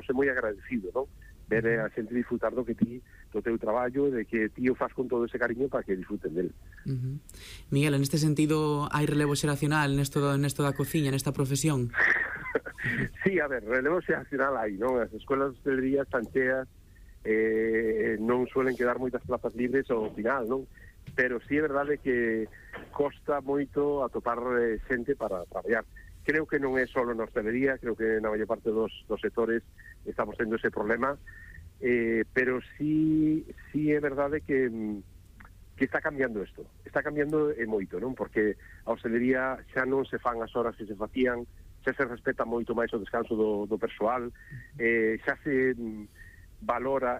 é moi agradecido, non? Ver a xente disfrutar do teu traballo, de que ti o faz con todo ese cariño para que disfruten del. Miguel, en este sentido, hai relevo xeracional nesto da cociña, nesta profesión? Sí, a ver, relevo xeracional hai, non? As escolas de hostelería están cheas, non suelen quedar moitas plazas libres ao final, non? Pero sí é verdade que costa moito atopar xente para traballar. Creo que non é só na hostelería, creo que na maior parte dos sectores estamos tendo ese problema, pero sí é verdade que está cambiando isto. Está cambiando moito, non? Porque a hostelería xa non se fan as horas que se facían, xa se respeta moito máis o descanso do persoal, xa se valora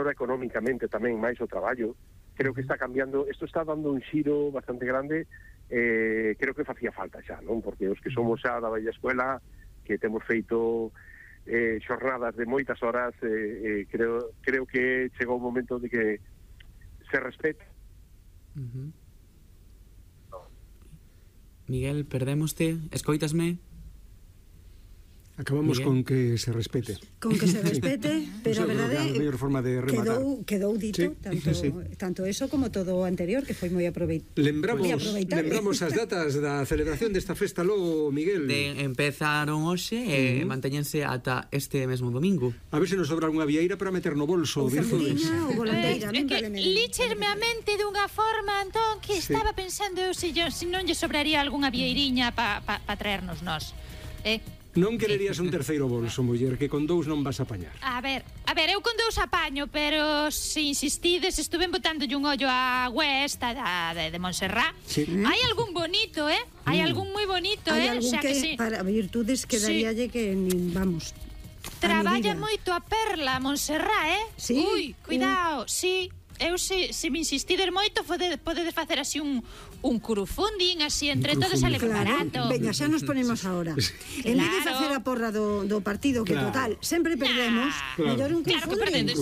económicamente tamén máis o traballo. Creo que está cambiando, isto está dando un xiro bastante grande, creo que facía falta xa, non? Porque os que somos xa da vella escuela, que temos feito xornadas de moitas horas, creo que chegou o momento de que se respete. Miguel, perdémoste, escoitasme? Acabamos con que se respete. Con que se respete, pero a verdade a mellor forma de rematar. Quedou dito, tanto eso como todo o anterior, que foi moi aproveitado. Lembramos as datas da celebración desta festa logo, Miguel. Empezaron hoxe e mantéñense ata este mesmo domingo. A ver se nos sobra unha vieira para meter no bolso. Ou zangudiña, ou volandeira. É que lícherme a mente dunha forma, Antón, que estaba pensando se non lle sobraría algunha vieiriña pa traernos nós. Non quererías un terceiro bolso, muller, que con dous non vas a apañar. A ver, eu con dous apaño, pero se insistides, estuve botándolle un ollo á esta de Montserrat. Sí. Hai algún bonito, Hai algún moi bonito, Hai algún xa que sí. Para virtudes quedaríalle que nin vamos. Traballa moito a perla, Montserrat, Sí. Ui, cuidado, sí. Eu se me insistides moito podedes facer así un crowdfunding, así entre todos sale barato. Veña, xa nos ponemos ahora. En vez de facer a porra do partido, que total, sempre perdemos, mellor un crowdfunding.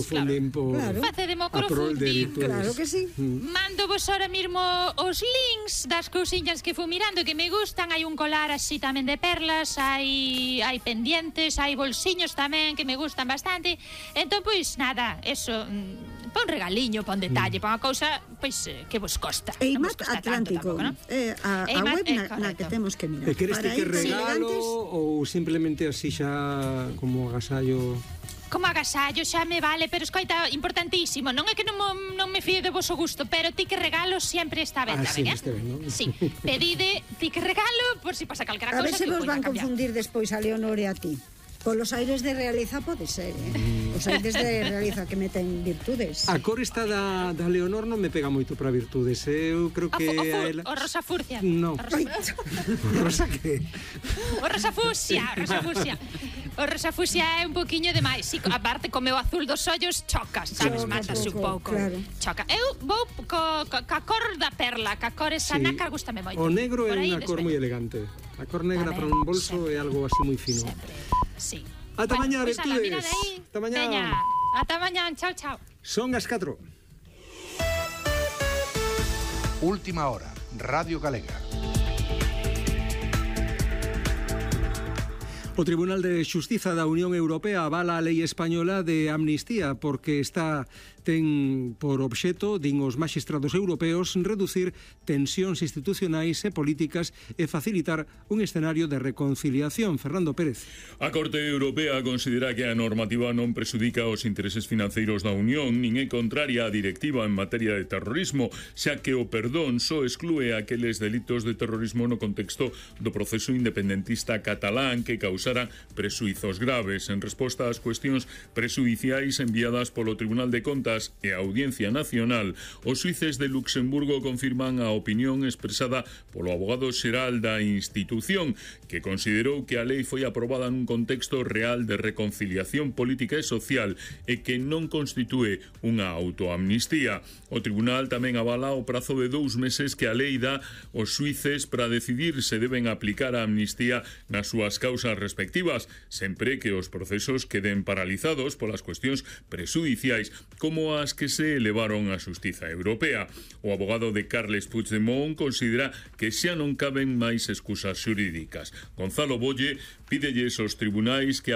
Facedemo crowdfunding. Claro que sí. Mando vos ahora mismo os links das cousiñas que fui mirando que me gustan. Hai un colar así tamén de perlas, hai pendientes, hai bolsiños tamén que me gustan bastante. Entón, pois, nada, eso, pa un regaliño, pa un detalle, pa unha cousa, pois, que vos costa. E Imat Atlántico, a web na que temos que mirar. E queres que regalo ou simplemente así xa como agasallo? Como agasallo xa me vale, pero escoita, importantísimo, non é que non me fíe de vosso gusto, pero ti que regalo sempre está ben, sí, está ben, non? Sí, pedide ti que regalo por si pasa calquera cousa. A ver se vos van confundir despois a Leonor e a ti. Polos aires de realeza pode ser, Os aires de realeza que meten virtudes. A cor esta da Leonor non me pega moito para virtudes. Eu creo que o rosa furcia. No. Rosa que? O rosa fucsia. O rosa fucsia é un poquiño de máis. Sí, aparte co meu azul dos ollos chocas, sabes, matas un pouco. Claro. Choca. Eu vou ca cor da perla, ca cor esa nácar gustame moito. O negro é unha cor moi elegante. A cor negra para un bolso é algo así moi fino. Sí. Ata mañá, virtudes. Ata mañá. Veña, ata mañá, chao. Son as 4. Última hora, Radio Galega. O Tribunal de Xustiza da Unión Europea avala a lei española de amnistía porque ten por obxeto, din os maxistrados europeos, reducir tensións institucionais e políticas e facilitar un escenario de reconciliación. Fernando Pérez. A Corte Europea considera que a normativa non presudica os intereses financeiros da Unión nin é contraria á directiva en materia de terrorismo, xa que o perdón só exclúe aqueles delitos de terrorismo no contexto do proceso independentista catalán que causara presuizos graves. En resposta ás cuestións prexudiciais enviadas polo Tribunal de Contas e a Audiencia Nacional, os xuíces de Luxemburgo confirman a opinión expresada polo abogado xeral da institución, que considerou que a lei foi aprobada nun contexto real de reconciliación política e social e que non constitúe unha autoamnistía. O tribunal tamén avala o prazo de 2 meses que a lei dá aos xuíces para decidir se deben aplicar a amnistía nas súas causas respectivas, sempre que os procesos queden paralizados polas cuestións prexudiciais como as que se elevaron á Xustiza Europea. O abogado de Carles Puigdemont considera que xa non caben máis excusas xurídicas. Gonzalo Bolle pídelles aos tribunais que